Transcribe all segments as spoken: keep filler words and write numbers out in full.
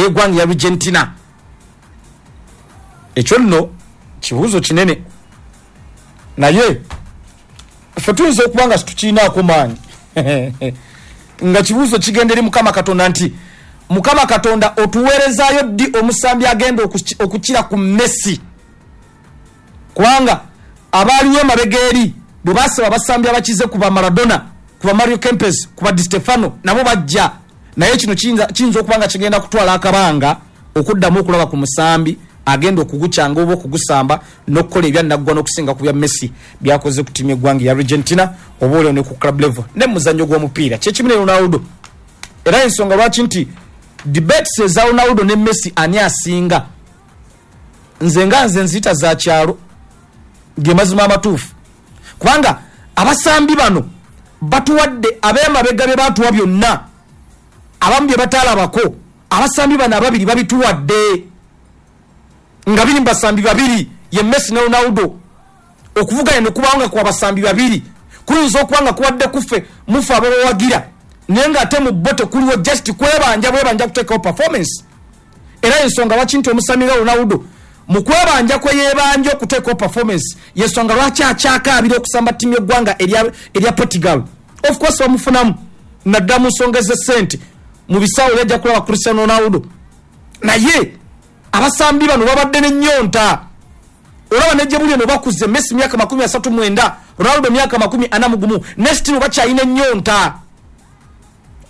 Ey'eggwanga ya Argentina. Ekyo nno kibuuzo kinene, naye ffe tuyinza okuba nga situkiinaako maanyi, nga kibuuzo kigenda eri Mukama Katonda nti, Mukama Katonda, otuweerezaayo ddi omusambi agenda okukira ku Messi? Kubanga abaaliwo emabega eri bwe basaba abasambi abakize ku ba Maradona, ku ba Mario Kempes, ku ba Di Stefano, nabo bajja. Naye kino kiyinza okuba nga kigenda kutwala akabanga okuddamu okulaba ku musambi agenda okugukyanga oba okugusamba n'okukola ebyannaggwa n'okusinga ku bya Messi byakoze ku ttiimu y'eggwanga ya Argentina, oba olio ne ku club level ne muzannyo gw'omupiira. Kyekimu ne Ronaldo. Era ensonga lwaki nti debates eza Ronaldo ne Messi ani asinga, nze nga nze nziyita za kyalo, ge mazima amatuufu, kubanga abasambi bano batuwadde ab'emabega bye batuwa byonna, abamu bye bataalabako. Abasambi bano ababiri babituwadde nga biri mu basambi babiri, ye Messi ne Ronaldo. Okuvuganya ne kubaawo nga kwa basambi babiri kuyinza okuba nga kuwadde kuffe mufe ababawagira, naye ng'ate mu bo tekuliwo, just kwebanja bwebanja kuteekawo performance. Era ensonga lwaki nti omusambi nga Ronaldo mu kwebanja kwe yeebanja okuteekawo performance, yensonga lwaki akyakaabira okusamba ttiimu y'eggwanga erya Portugal. Of course bamufunamu naddala mu nsonga ez'essente mu bisaawo yajja kulaba Cristiano Ronaldo, naye abasambi bano babadde n'ennyonta. Olaba ne gye buli eno bakuze, Messi myaka makumi asatu mwenda, Ronaldo myaka makumi ana mu gumu, ne still bakyalina ennyonta.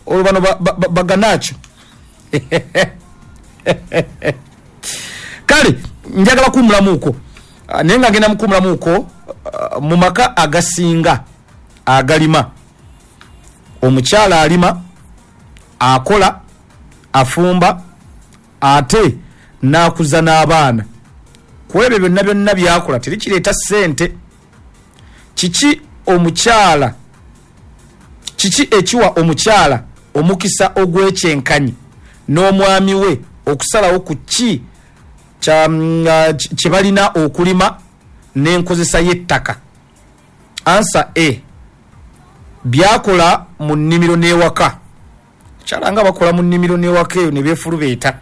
Olwo bano baganakyo. Kale njagala kuwumulamuuko, naye nga ngenda mukuwumulamuuko, mu maka agasinga agalima, omukyala alima, akola, afumba, ate n'akuza n'abaana. Ku ebyo byonna byonna byakola terikireeta ssente. Kiki omukyala, kiki ekiwa omukyala omukisa ogw'ekyenkanyi n'omwami we okusalawo ku ki kye balina okulima n'enkozesa y'ettaka? Answer A, byakola mu nnimiro n'ewaka. Kyala nga bakola mu nnimiro n'ewaka eyo ne beefulubeeta.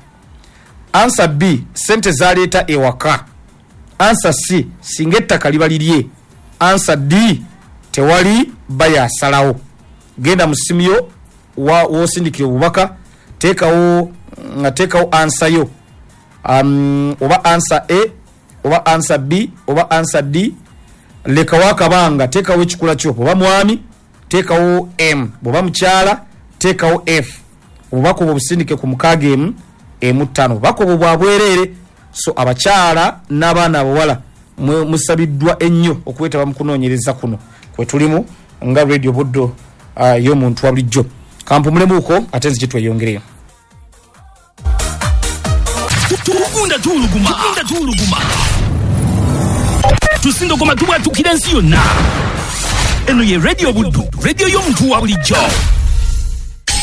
Answer B, sente zaleeta ewaka. Answer C, singa ettaka liba lirye. Answer D, tewali bayasalawo. Genda mu ssimu yo w'osindikira obubaka, teekawo nga teekawo answer yo, um, oba answer A oba answer B oba answer D. Lekawo akabanga, teekawo ekikula kyo. Oba mwami, teekawo M, bw'oba mukyala, teekawo F. Obubaka obwo busindike ku mukaaga emu emu ttaano. Obubaka obwo bwa bwereere. So abakyala n'abaana abawala, musabiddwa ennyo okwetaba mu kunoonyereza kuno kwe tulimu nga Radio Buddo uh, y'omuntu wa bulijjo. Kampumulemuuko, ate nzije tweyongereyo. Tugunda tuwuluguma, tugunda tuwuluguma, tusindogoma, tubwatukira ensi yonna. Eno ye Radio Buddu, radio y'omuntu wa bulijjo.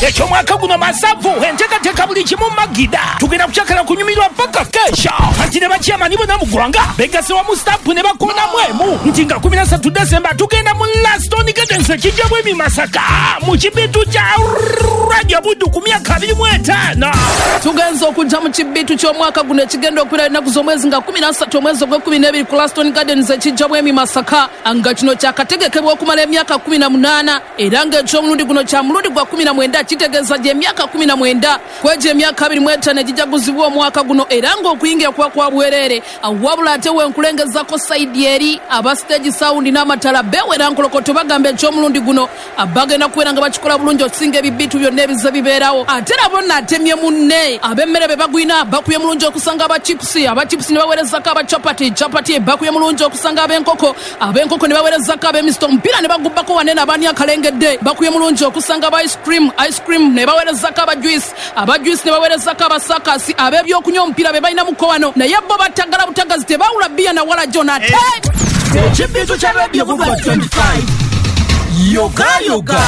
Ekyomwaka guno masavu, enteekateeka buli kimu magida. Tugenda kukyakala kunyumirwa paka kesha. Anti ne bakyamani bonna mu ggwanga begase wamu, stampu ne bakonamu emu nti nga kumi na ssatu Desemba tugenda mu Laston Gardens ekijjamu emi Masaka mu kibitu kya Radio Buddu ku myaka abiri mu etaano. Tugenza okujja mu kibitu ky'omwaka guno ekigenda okubeera ennaku z'omwezi nga kumi na ssatu omwezi ogw'ekumi n'ebiri ku Laston Gardens ekijja bwemi Masaka, nga kino kyakategekebwa okumala emyaka kumi na munaana, era ng'ekyomulundi guno kya mulundi gwa kumi na mwenda. Kitegeeza gy'emyaka kumi na mwenda kwegyo emyaka abiri mu etaano egijaguzibwa omwaka guno, era ng'okuyingira kuba kwa bwereere. Wabula ate wenkulengezako side eri aba stage sound n'amatala bewera nkolokoto, bagamba ekyomulundi guno bagenda kubeera nga bakikola bulungi okusinga ebibitu byonna ebize bibeerawo. Ate nabo naatemye munne, ab'emmere be bagwina bakubye mulungi okusanga aba chips, aba chips ne baweerezako aba chapati, chapati bakubye mulungi okusanga ab'enkoko, ab'enkoko ne baweerezako ab'emisito, omupiira ne bagubbako wanene abaani akalengedde bakubye mulungi okusanga aba ice cream, ice cream ne baweerezako aba juice, aba juice ne baweerezako abasakasi, ab'ebyokunywa omupiira be balinamuko wano, naye bo batagala butagazi, tebawula bbiya na wala jona ate. Ekibitu kya Radio Buddu twenty-five, yoga yoga.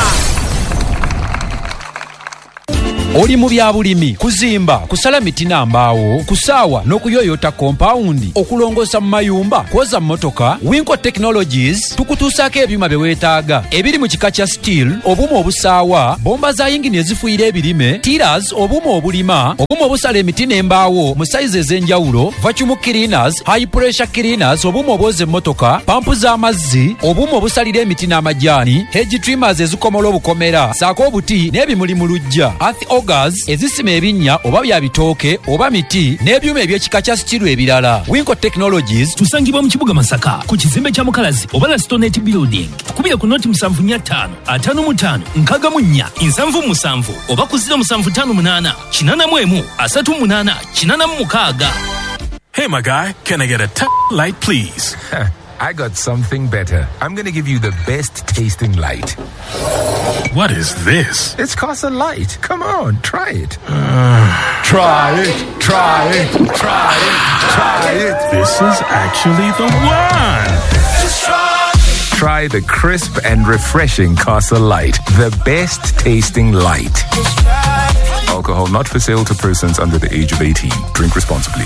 Oli mu bya bulimi, kuzimba, kusala miti na mbaawo, kusaawa n'okuyoyota kompawundi, okulongoosa mu mayumba, kwoza mmotoka. Winco Technologies tukutuusaako ebyuma bye weetaaga ebiri mu kika kya steel, obuuma obusaawa, bomba za yingini ezifuuyira ebirime, tillers, obuuma obulima, obuuma obusala emiti n'embaawo mu sayizi ez'enjawulo, vacuum cleaners, high pressure cleaners, obuuma obwoza emmotoka, pampu z'amazzi, obuuma obusalira emiti n'amajaani, hedge trimmers ezikomola obukomera, saako obuti n'ebimuli mu luggya, earth augers ezisima ebinnya oba bya bitooke oba miti, n'ebyuma eby'ekika kya steel ebirala. Winco Technologies tusangibwa mu kibuga Masaka ku kizimbe kya Mukalazi oba Lastonet Building. Tukubire ku noti musanvu nnya ttaano ataano mu ttaano nkaaga mu nnya nsanvu musanvu oba ku ziro musanvu ttaano munaana kinaana mu emu asatu munaana kinaana mu mukaaga. Hey, my guy, can I get a t- light, please? I got something better. I'm going to give you the best tasting light. What is this? It's Casa Light. Come on, try it. Uh, try it, try it, try it, try it. This is actually the one. Just try it. Try the crisp and refreshing Casa Light, the best tasting light. Alcohol not for sale to persons under the age of eighteen. Drink responsibly.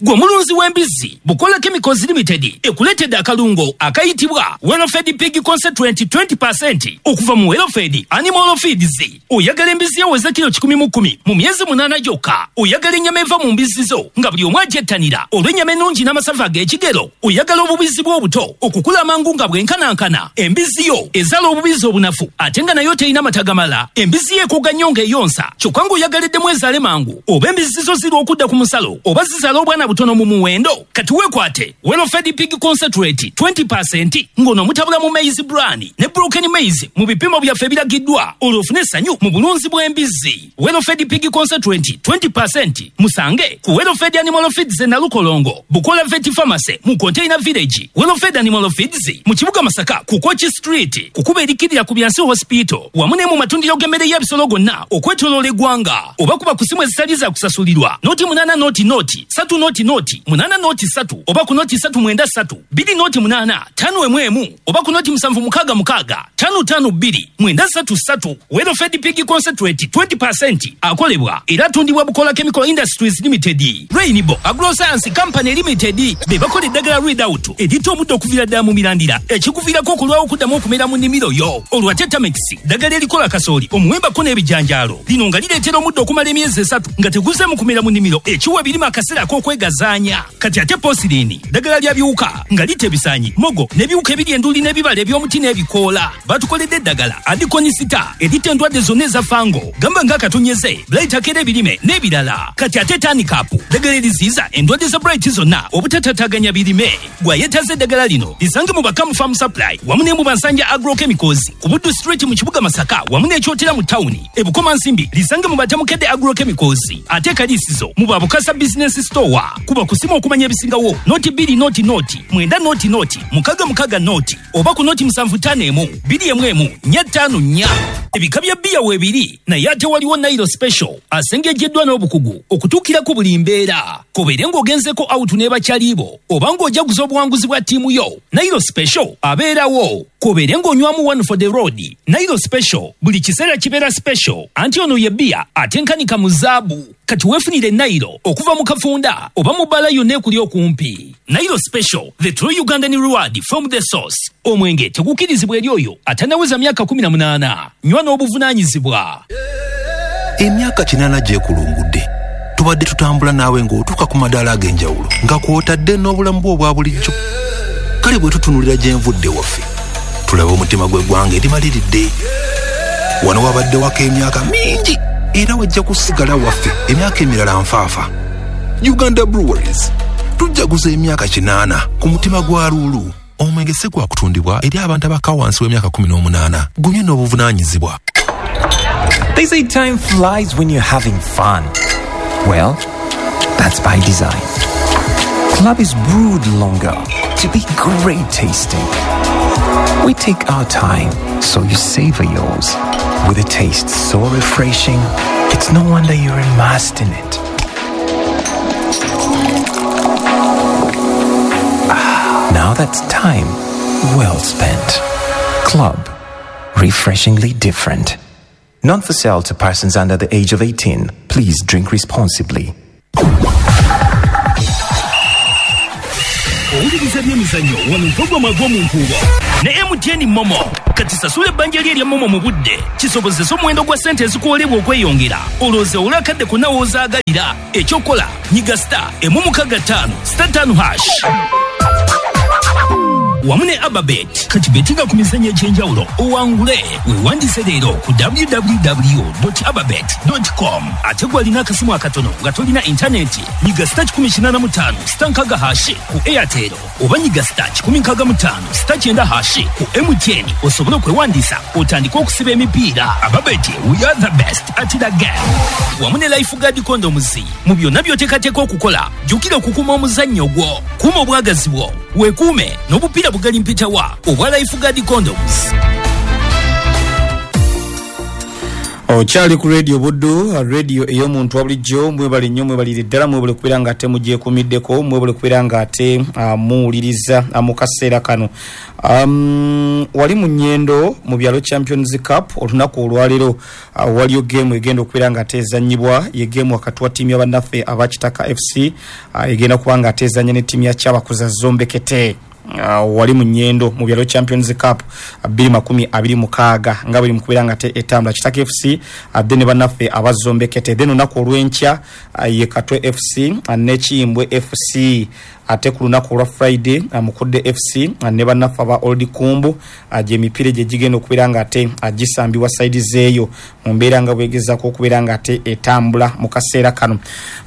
Gwe mulunzi w'embizzi, Bukola Chemicals Limited ekuleetedde akalungo akayitibwa Welfed Pig Concentrate twenty percent okuva mu Welfed Animal Feeds. Oyagala embizzi eweza kilo kikumi mu kkumi mu myezi munaana gyokka. Oyagala ennyama eva mu mbizzi zo nga buli omu agyettanira olw'ennyama ennungi n'amasavu ag'ekigero. Oyagala obubizzi bw'obuto okukula amangu nga bwenkanankana. Embizzi yo ezaala obubizzi obunafu ate nga nayo terina mata gamala. Embizzi yo ekooga nnyo ng'eyonsa kyokka ng'oyagaliddemu ezaale mangu. Oba embizzi zo zirwa okudda ku musalo oba zizaala obwana butono mu muwendo. Kati weekwate Welfed Pig Concentrate twenty percent ng'ono mutabula mu maize bran ne broken maize mu bipimo byaffe ebiragiddwa olwo ofune essanyu mu bulunzi bw'embizzi. Welfed Pig Concentrate twenty percent musange ku Welfed Animal Feeds e Nalukolongo, Bukola Vet Pharmacy mu Container Village, Welfed Animal Feeds mu kibuga Masaka ku Kochi Street, kukuba erikirira ku Byansi Hospital wamu ne mu matundiro g'emmere y'ebisolo gonna okwetooloola eggwanga. Oba kuba ku simu ezitali za kusasulirwa noti munaana noti noti satu noti noti munana noti satu oba ku noti satu mwenda satu bbiri noti munana tano emu emu oba ku noti musanvu mukaaga mukaaga tano tano bbiri mwenda satu satu. Welfed Pig Concentrate twenty percent akolebwa era atundibwa Bukola Chemical Industries Limited, Rainbow Agroscience Company Limited be bakola eddagala Readout eritta omuddo okuviira ddala mu mirandira ekikuviirako okulwawo okuddamu okumera mu nnimiro yo. Olwo ate Tamex ddagala erikola kasooli, omuwembako n'ebijanjaalo lino nga lireetera omuddo okumala emyezi esatu nga teguzeemu kumera mu nnimiro ekiwa ebirime akaseera ak'okwegazaanya. Kati ate Posirini ddagala lya biwuka nga litta ebisaanyi, mogo n'ebiwuka ebiri enduli n'ebibala eby'omuti n'ebikoola. Batukoledde eddagala Adikonisita eritta endwadde zonna eza fango gamba ng'akatonyeze, blight akera ebirime n'ebirala. Kati ate Tanikapu ddagala eriziyiza endwadde za blight zonna obutatataganya birime. Gw'ayeetaaza eddagala lino lisange mu Bakamu Farm Supply wamu ne mu Bansanja Agrochemicals ku Buddu Street mu kibuga Masaka wamu n'Ekyotera mu tawuni. E Bukomansimbi lisange mu Batamukedde Agrochemicals ate Kalisizo mu Babukasa Business Store. Kuba kusimu okumanya ebisingawo noti bbiri noti noti mwenda noti noti mukaga mukaga noti oba ku noti musanvu ttaano emu bbiri emu emu nnya ttaano nnya. Ebika bya bbiya weebiri naye ate waliwo Nile Special asengejjeddwa n'obukugu okutuukira ku buli mbeera. Kobeere ng'ogenzeko awutu ne bakyalibo oba ng'ojaguza obuwanguzi bwa ttiimu yo, Nile Special abeerawo. Kobeere ng'onywamu one for the road, Nile Special buli kiseera kibeera special anti ono ye bbiya atenkanika mu zaabu. Kati weefunire Nile okuva mu kafunda oba mu bbaala yonna ekuli okumpi. Nile Special, the true Ugandan reward from the source. Omwenge tegukkirizibwa eri oyo atannaweza myaka kumi na munaana. Nywa n'obuvunaanyizibwa. Emyaka kinaana gyekulungudde tubadde tutambula naawe ng'otuuka ku madaala ag'enjawulo nga kw'otadde n'obulamu bwo obwa bulijjo. Kale bwe tutunuulira gye nvudde waffe tulaba omutima gw'eggwanga erimaliridde. Wano wabadde wako emyaka mingi era wajja kusigala waffe emyaka emirala nfaafa. Uganda Breweries tujjaguza emyaka kinaana ku mutima gwa Luulu. Omwenge si gwa kutundibwa eri abantu abakka wansi w'emyaka kumi n'omunaana. Gunywe n'obuvunaanyizibwa. They say time flies when you're having fun. Well, that's by design. Club is brewed longer to be great tasting. We take our time so you savor yours. With a taste so refreshing, it's no wonder you're immersed in it. Ah, now that's time well spent. Club, refreshingly different. Not for sale to persons under the age of eighteen. Please drink responsibly. Owuliriza by'emizannyo wano mpogoma gw'omunkuubo ne M T N Momo. Kati sasula ebbanja lye erya Momo mu budde kisobozesa omuwendo gwa ssente ezikuwolebwa okweyongera, olowooze olw'akadde konna w'ozaagalira. Ekyokola nyiga star emu mukaaga ttaano star ttaano hash wamu ne Ababet. Kati betinga ku mizannyo egy'enjawulo owangule. Weewandiise leero ku w w w dot ababet dot com. Ate gw'alina akasimu akatono nga tolina intaneti, nyiga star kikumi kinaana mu ttaano star nkaaga hashi ku Airtel oba nyiga star kikumi nkaaga mu ttaano star kyenda hashi ku M T N osobole okwewandiisa otandike okusiba emipiira. Ababet, we are the best at the game. Wamu ne Lifeguard Condoms. Mu byonna by'oteekateeka okukola, jjukira okukuuma omuzannyo gwo, kuuma obwagazi bwo, weekuume n'obupiira bugali mpitawa obwa Lifeguard Condoms. Okyali ku Radio Buddu, radio ey'omuntu wa bulijjo. Mwebale nnyo, mwebalire ddala, mwebale kubeera nga ate mugyekuumiddeko, mwebale kubeera nga ate uh, muwuliriza uh, mu kaseera kano. Um, wali mu Nyendo mu byalo Champions Cup olunaku olwaleero uh, waliyo game egenda okubeera nga ate ezannyibwa, ye game wakati wa ttiimu y'abannaffe aba Kitaka F C uh, egenda kuba nga ate ezannya ne ttiimu ya Kyabakuza Zombekete. Uh, wali mu Nyendo mu byalo Champions Cup bbiri makumi abiri mukaaga nga buli mukubeera nga te etambula Kitaka F C uh, ne bannaffe abazombekete. Then olunaku olw'enkya uh, ye Katwe F C uh, ne Kiyimbwe F C. Ate ku lunaku olwa Friday uh, Mukudde F C uh, ne bannaffe aba Old Kumbu uh, gy'emipiira gye gigenda okubeera nga ate uh, gisambibwa saidi zeeyo mu mbeera nga bwegezaako okubeera nga ate etambula mu kaseera kano.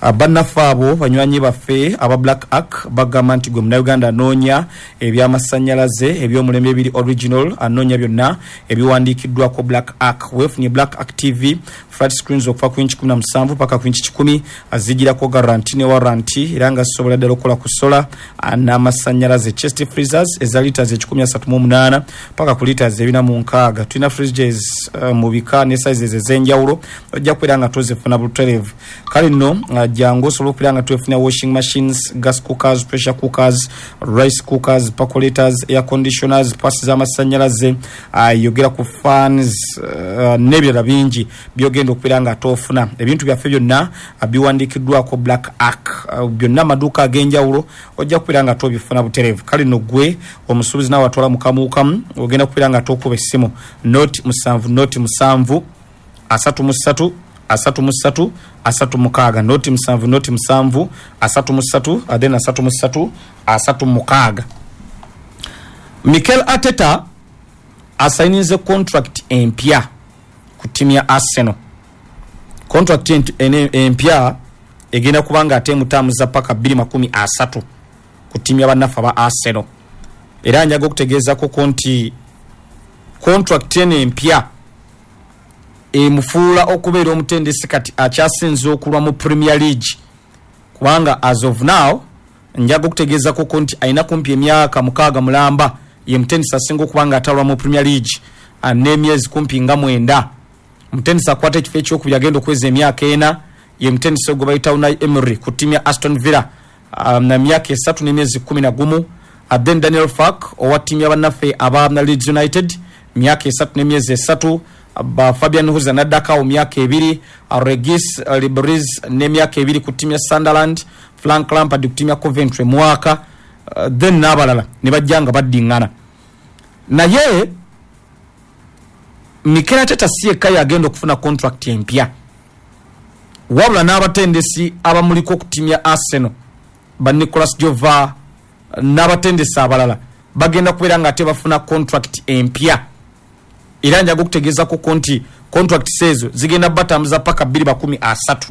Uh, bannaffe abo banywanyi baffe aba Black Ark bagamba nti gwe Munnayuganda anoonya ebyamasannyalaze eby'omulembe ebiri original, anoonya byonna ebiwandiikiddwako Black Ark. Weefunye Black Ark T V flat screens okuva ku inchi kumi na musanvu paka ku inchi kikumi, azigirako guarantee ne warranty era nga zisobola ddala okukola ku sola n'amasannyalaze. Chest freezers eza liters ekikumi asatu mu munaana paka ku liters ebina mu nkaaga. Tulina fridges uh, mu bika ne sizes ez'enjawulo, ojja kubeera nga tozifuna butereevu. Kale nno uh, jangu osobola okubeera nga twefuna washing machines, gas cookers, pressure cookers, rice cookers, percolators, air conditioners, pasi z'amasannyalaze, uh, yogera ku fans uh, n'ebirala bingi byogenda okubeera nga tofuna. Ebintu byaffe byonna uh, biwandiikiddwako Black Ark, uh, byonna amaduuka ag'enjawulo ojja kubeera nga tobifuna butereevu. Kale nno ggwe omusuubuzi naawe atwala mukamuukamu ogenda kubeera nga tokuba essimu noti musanvu noti musanvu asatu mu ssatu asatu mu ssatu asatu mukaaga, noti musanvu noti musanvu asatu mu ssatu then asatu mu ssatu asatu mukaaga. Mikel Arteta asayininze contract empya ku ttiimu ya Arsenal. Contract empya egenda kuba nga ate emutamuza paka bbiri makumi asatu ku ttiimu y'abannaffe aba Arsenal. Era njaga okutegeezako nti contract eno empya emufuula okubeera omutendesi kati akyasinze okulwa mu Premier League, kubanga as of now njaga okutegeezako nti alina kumpi emyaka mukaaga mulamba ye mutendesi asinga okuba nga atalwa mu Premier League n'emyezi kumpi nga mwenda. Mutendesi akwata ekifo ekyokubiri agenda okweza emyaka ena ye mutendesi gwe bayita Unai Emery ku ttiimu ya Aston Villa um, na myaka esatu n'emyezi kumi na gumu. Then Daniel Fark owa ttiimu y'abannaffe aba Leeds United myaka esatu n'emyezi esatu. Ba Fabian Huza n'addako myaka ebiri. Regis Libris n'emyaka ebiri ku ttiimu ya Sunderland. Frank Lampard ku ttiimu ya Coventry mwaka, uh, then n'abalala ne bajja nga baddiŋŋana. Naye Mikel Arteta si yekka yagenda okufuna contract empya, wabula n'abatendesi abamuliko ku ttiimu ya Arsenal ba Nicolas Jova n'abatendesi abalala bagenda kubeera nga ate bafuna contract empya. Era njaga okutegeezako nti contract ezo zigenda batambuza paka bbiri makumi asatu.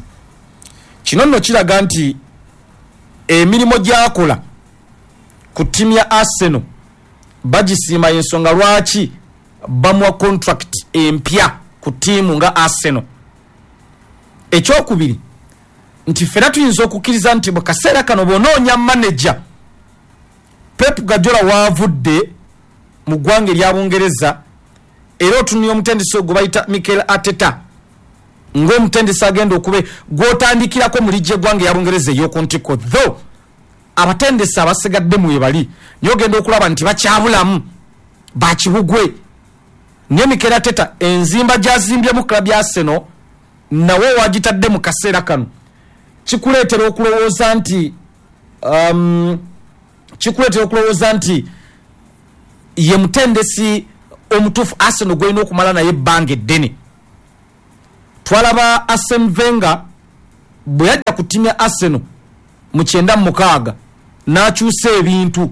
Kino nno kiraga nti emirimu gy'akola ku ttiimu ya Arsenal bagisiima, ensonga lwaki bamuwa contract empya ku ttiimu nga Arsenal. Ekyokubiri nti ffenna tuyinza okukkiriza nti mu kaseera kano bw'onoonya manager Pep Guardiola waavudde mu ggwanga erya Bungereza, era otunuye omutendesi gwe bayita Mikel Arteta ng'omutendesi agenda okube gw'otandikirako mu liigi y'eggwanga eya Bungereza ey'oku ntikko, though abatendesi abasigadde mu bali naye ogenda okulaba nti bakyabulamu bakibugwe. Naye Mikel Arteta enzimba gy'azimbyemu club ya Arsenal nawe wagitadde mu kaseera kano kikuleetera okulowooza nti um, kikuleetera okulowooza nti ye mutendesi omutuufu Arsenal gw'olina okumala naye ebbanga eddene. Twalaba Arsene Wenger bwe yajja ku ttiimu ya Arsenal mu kyenda mu mukaaga n'akyusa ebintu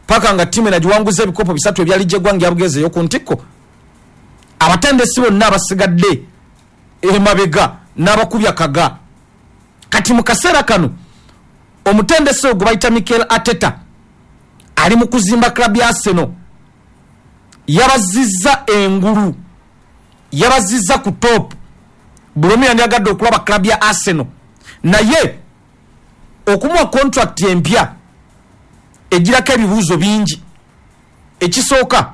paka nga ttiimu enagiwanguza ebikopo bisatu ebya liigi y'eggwanga ya Bungereza ey'oku ntikko. Abatendesi bonna abasigadde emabega n'abakubya kaga. Kati mu kaseera kano omutendesi ogwo bayita Mikel Arteta ali mu kuzimba club ya Arsenal, yabazizza engulu, yabazizza ku top. Buli omu yandyagadde okulaba club ya Arsenal, naye okumuwa contract empya egirako ebibuuzo bingi. Ekisooka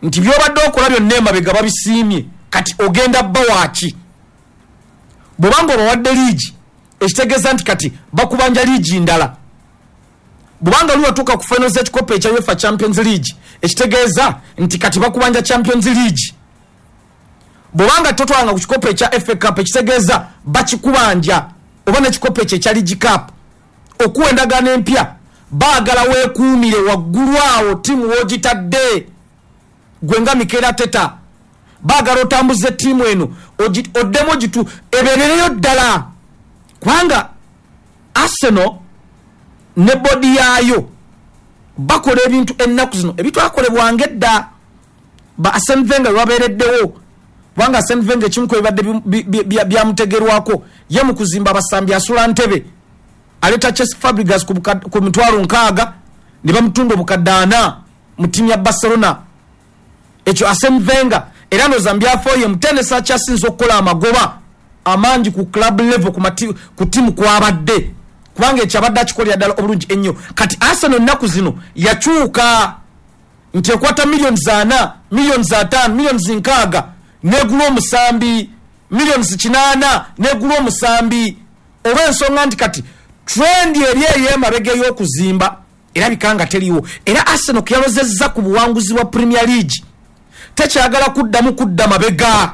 nti by'obadde okola byonna emabega babisiimye, kati ogenda bba waaki? Bw'obanga obawadde liigi, ekitegeeza nti kati bakubanja liigi ndala. Bw'obanga luli watuuka ku finals z'ekikopo ekya UEFA Champions League, ekitegeeza nti kati bakubanja Champions League. Bw'obanga totwalanga ku kikopo ekya F A Cup, ekitegeeza bakikubanja, oba n'ekikopo ekyo ekya League Cup. Okuwa endagaano empya baagala weekuumire waggulu awo ttiimu w'ogitadde. Gwe nga Mikel Arteta baagala otambuze ttiimu eno oddemu ogitu ebeerereyo ddala, kubanga Arsenal ne bodi yaayo bakola ebintu ennaku zino ebitwakolebwanga edda ba Arsene Wenger lwabeereddewo, kubanga Arsene Wenger ekimu ku ebibadde byamutegerwako ye mu kuzimba abasambi asula ntebe, aleeta Cesc Fabregas ku mitwalo nkaaga ne bamutunda obukadde ana mu ttiimu ya Barcelona. Ekyo Arsene Wenger era ndowooza mbyafoye mutendesi akyasinze okukola amagoba amangi ku club level ku ttiimu kwabadde, kubanga ekyo abadde akikolera ddala obulungi ennyo. Kati Arsenal ennaku zino yakyuka nti ekwata millions ana, millions ataano, millions nkaaga negula omusambi, millions kinaana negula omusambi, olw'ensonga nti kati trend eri ey'emabega ey'okuzimba erabika nga teriiwo. Era Arsenal keyalozezza ku buwanguzi bwa Premier League tekyagala kuddamu kudda mabega.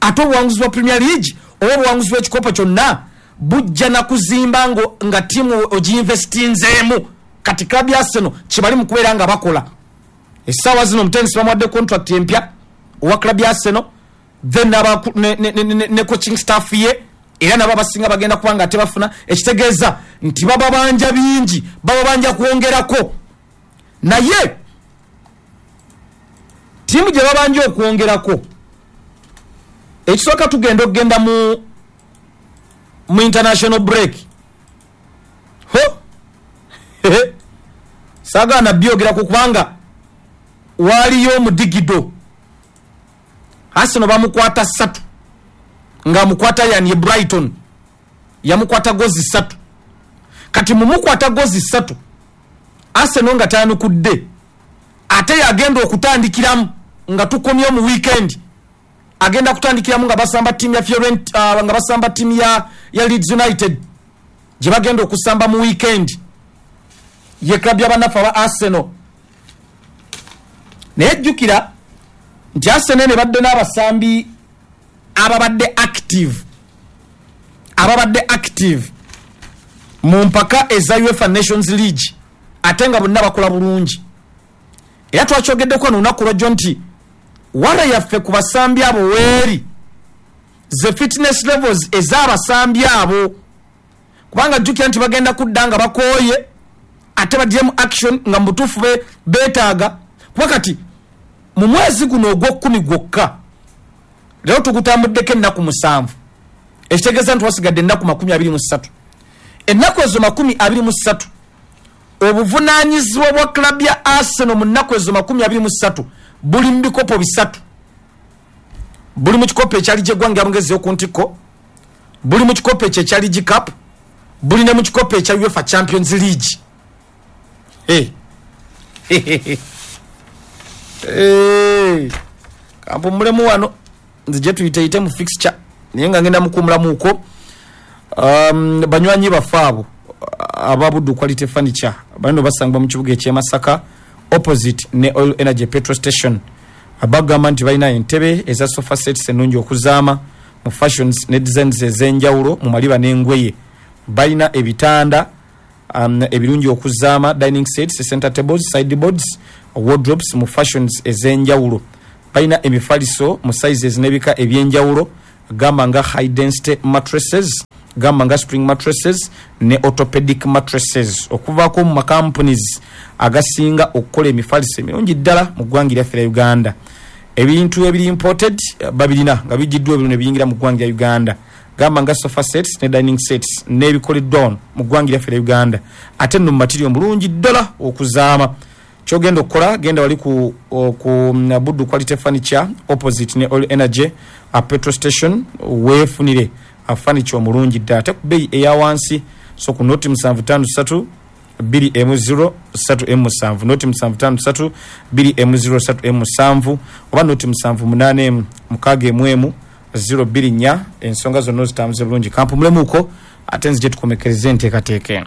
Ate obuwanguzi bwa Premier League oba obuwanguzi bw'ekikopo kyonna bujja na kuzimba nga ttiimu ogiinvestinzeemu. Kati club ya Arsenal kye mu kubeera nga bakola essaawa zino, omutendesi bamuwadde contract empya owa club ya Arsenal, then ne, ne, ne, ne coaching staff ye era nabo abasinga bagenda kuba nga tebafuna, ekitegeeza nti bababanja bingi, bababanja kwongerako. Naye ttiimu gye babanja okwongerako, ekisooka tugenda okugenda mu mu international break. Ho saagaana byogerako kubanga waaliyo omudigido. Arsenal bamukwata ssatu, ng'amukwata yani ye Brighton yamukwata gozi ssatu. Kati mumukwata gozi ssatu Arsenal nga tayanukudde, ate yagenda okutandikiramu nga tukomye mu weekend, agenda kutandikiramu nga basamba ttiimu ya Fiorentina, uh, nga basamba ttiimu ya, ya Leeds United gye bagenda okusamba mu weekend, ye club y'abanafu aba Arsenal. Naye jjukira nti Arsenal ne badde n'abasambi ababadde active, ababadde active mu mpaka eza UEFA Nations League, ate nga bonna bakola bulungi. Era twakyogeddeko olunaku lwajjo nti wala yaffe ku basambi abo weeri ze fitness levels ez'abasambi abo, kubanga jjukira nti bagenda kudda nga bakooye ate baggyemu action nga mu butuufu beetaaga. Kuba kati mu mwezi guno ogw'okkumi gwokka leero tugutambuddeko ennaku musanvu, ekitegeeza nti wasigadde ennaku makumi abiri mu ssatu. Ennaku ezo makumi abiri mu ssatu, obuvunaanyizibwa bwa club ya Arsenal mu nnaku ezo makumi abiri mu ssatu buli mu bikopo bisatu. Buli mu kikopo ekya liigi y'eggwanga ya Bungereza ey'oku ntikko, buli mu kikopo ekyo ekya League Cup, buli ne mu kikopo ekya UEFA Champions League. Hey. Hey. Kampumulemu wano nzije tuyiteyite mu fixture, naye nga ngenda mukuumulamuuko. Um, banywanyi baffe abo aba Buddu Quality Furniture bano basangibwa mu kibuga eky'e Masaka opposite ne Oil Energy Petrol Station. Abagamba nti balina entebe eza sofa sets ennungi okuzaama mu fashions ne designs ez'enjawulo mu maliba n'engoye. Balina ebitanda um, ebirungi okuzaama, dining sets, center tables, sideboards, wardrobes mu fashions ez'enjawulo. Balina emifaliso mu sizes n'ebika ebyenjawulo, gamba nga high density mattresses, gamba nga spring mattresses ne orthopedic mattresses, okuvaako mu macompanies agasinga okukola emifaliso emirungi ddala mu ggwanga lyaffe lya Uganda. Ebintu ebiri imported babirina nga bijiddwa ebiro ne biyingira mu ggwanga lya Uganda, gamba nga sofa sets ne dining sets n'ebikoleddwa wano mu ggwanga lyaffe lya Uganda, ate nno mu material mulungi ddala okuzaama. Kyogenda okukola, genda wali ku, ku Buddu Quality Furniture opposite ne Oil Energy a petrol station, weefunire a furniture omulungi ddala ate ku bbeeyi eya wansi. So ku noti musanvu ttaano ssatu bbiri emu zero ssatu emu musanvu, noti musanvu ttaano ssatu bbiri emu zero ssatu emu musanvu, oba noti musanvu munaana emu mukaaga emu emu zero bbiri nnya. Ensonga zonna ozitambuze bulungi. Kampumulemuko ate nzije tukomekereze enteekateeka eno.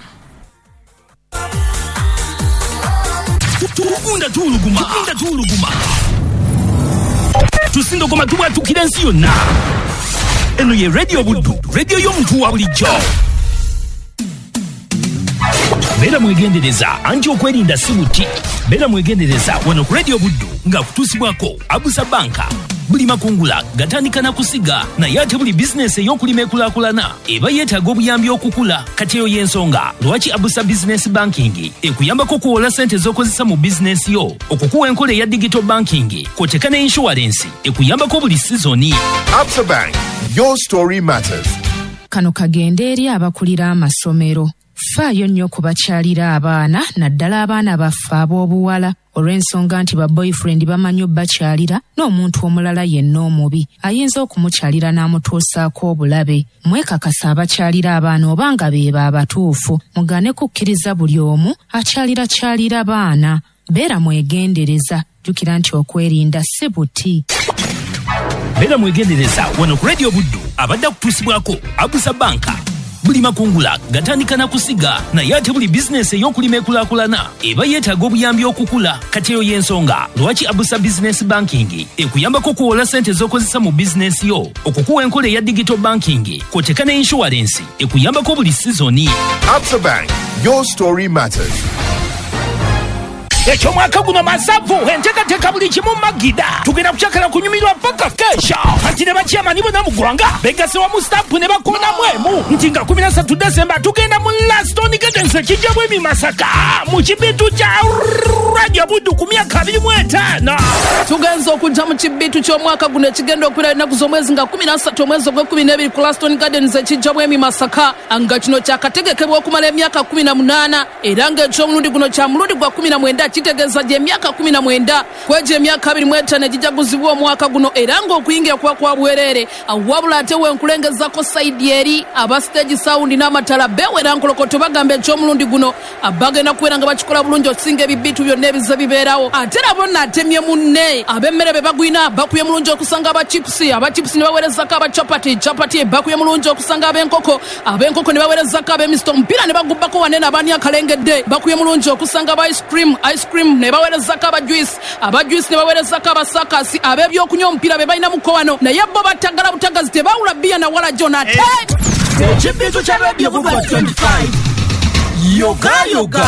Tugunda tuwuluguma, tugunda tuwuluguma, tusindogoma tubwatukira ensi yonna. Eno ye Radio Buddu, radio y'omuntu wa bulijjo. Beera mwegendereza anti okwerinda si buti. Beera mwegendereza wano ku Radio Buddu nga kutuusibwako Abusa Banka. Buli makungula gatandika na kusiga, naye ate buli bizinesi ey'okulima ekulaakulana eba yeetaaga obuyambi okukula. Kati eyo y'ensonga lwaki Abusa Business Banking ekuyambako okuwola ssente z'okozesa mu bizinesi yo, okukuwa enkola eya digital banking kw'oteeka ne insurance ekuyambako buli sizoni. Absa Bank, your story matters. Kano kagende eri abakulira amasomero. Faayo nnyo okubakyalira abaana, naddala abaana baffe ab'obuwala, olw'ensonga nti ba boyfriend bamanyi obbakyalira n'omuntu omulala yenna omubi ayinza okumukyalira n'amutuusaako obulabe. Mwekakasa abakyalira abaana oba nga beebo abatuufu, mugane kukkiriza buli omu akyalirakyalira baana. Beera mwegendereza, jjukira nti okwerinda si buti. Beera mwegendereza wano ku Radio Buddu abadde akutuusibwako Abusa Banka. Buli makungula gatandika na kusiga, naye ate buli bizinesi ey'okulima ekulaakulana eba yeetaaga obuyambi okukula. Kati eyo y'ensonga lwaki Abusa Business Banking ekuyambako okuwola ssente z'okozesa mu bizinesi yo, okukuwa enkola eya digital banking kw'oteeka ne insurance ekuyambako buli sizoni. Absa Bank, your story matters. Ekyomwaka guno masavu, enteekateeka buli kimu magida. Tugenda kukyakala kunyumirwa paka kesha. Kati ne bakyamani bonna mu ggwanga begasse wamu stampu ne bakoonamu emu nti nga kumi na ssatu Desemba tugenda mu Laston Gardens ekijja bwemi Masaka mu kibitu kya Radio Buddu ku myaka abiri mu etaano. Tugenza okujja mu kibitu ky'omwaka guno ekigenda okubeera ennaku z'omwezi nga kumi na ssatu omwezi ogw'ekkumi n'ebiri ku Laston Gardens ekijja bwemi Masaka, nga kino kyakategekebwa okumala emyaka kumi na munaana, era ng'ekyomulundi guno kya mulundi gwa kumi na mwenda, kitegeeza gy'emyaka kumi na mwenda kwegyo emyaka abiri mu etaano egijaguzibwa omwaka guno, era ng'okuyingira kuba kwa bwereere. Wabula ate wenkulengezako sayidi eri aba stage sound n'amatala beewera nkolokoto bagamba ekyomulundi guno bagenda kubeera nga bakikola bulungi okusinga ebibitu byonna ebize bibeerawo. Ate nabo naatemye munne ab'emmere be bagwina bakuye mulungi okusanga aba chips, aba chips ne baweerezako aba chapati, chapati bakuye mulungi okusanga ab'enkoko, ab'enkoko ne baweerezako ab'emisito, omupiira ne bagubbako wanene abaani akalengedde bakuye mulungi okusanga aba ice cream, ice cream ne baweerezako aba juice, aba juice ne baweerezako abasakasi, ab'ebyokunywa omupiira be balina muko wano, naye bo batagala butagazi tebawula bbiya na wala jona ate ekibitu kya Radio Buddu twenty-five yoga yoga.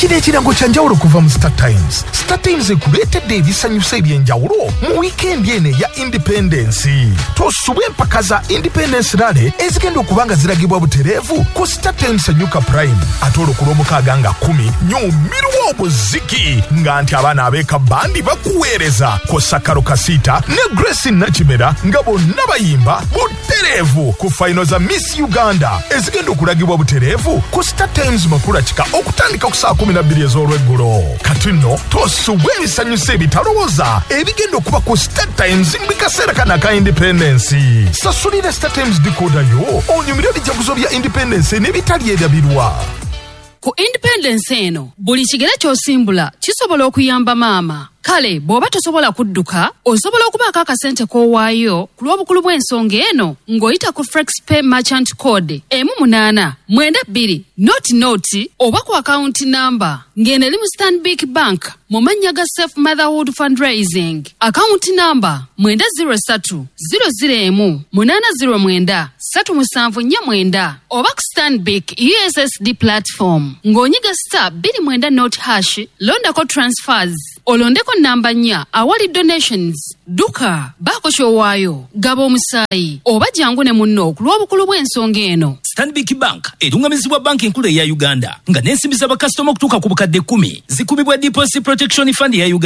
Kino ekirango kya njawulo kuva mu Star Times. Star Times ekuleetedde ebisanyusa eby'enjawulo mu wiikendi eno eya Independence. Tosubwa empaka za Independence Rally ezigenda okuba nga ziragibwa butereevu ku Star Times Enyuka Prime. Ate olwo ku Lwomukaaga nga kkumi nyumirwa obuziki nga nti abaana ab'eka bandi bakuweereza kw'ossa Karo Kasita ne Grace Nakimera nga bonna bayimba butereevu ku fayino za Miss Uganda ezigenda okulagibwa butereevu ku Star Times Makula Kika okutandika ku saa kumi na bbiri ez'olweggulo. Kati nno tosubwa ebisanyusa ebitalowooza ebigenda okuba ku Star Times mu kaseera kano aka Independence. Sasulira Star Times decoder yo onyumire ebijaguzo bya Independence n'ebitali erabirwa. Ku Independence eno buli kigere ky'osimbula kisobola okuyamba maama Kale bw'oba tosobola kudduka, osobola okubaako akasente k'owaayo ku lw'obukulu bw'ensonga eno ng'oyita ku FlexPay merchant code emu munaana mwenda bbiri noti noti oba ku akawunti namba ng'eno eri mu Stanbic Bank mu mannya ga Safe Motherhood Fundraising, akawunti namba mwenda zero ssatu zero zero emu munaana zero mwenda ssatu musanvu nnya mwenda oba ku Stanbic U S S D platform ng'onyiga star bbiri mwenda nought hash, londako transfers, olondeko namba nnya awali donations. Dduka, baako ky'owaayo, gaba omusaayi oba jangu ne munno ku lw'obukulu bw'ensonga eno. Stanbic Bank erungamizibwa Banki Enkulu eya Uganda, nga n'ensimbi z'abakasitoma okutuuka ku bukadde kkumi zikumibwa Deposit Protection Fund eya Uganda.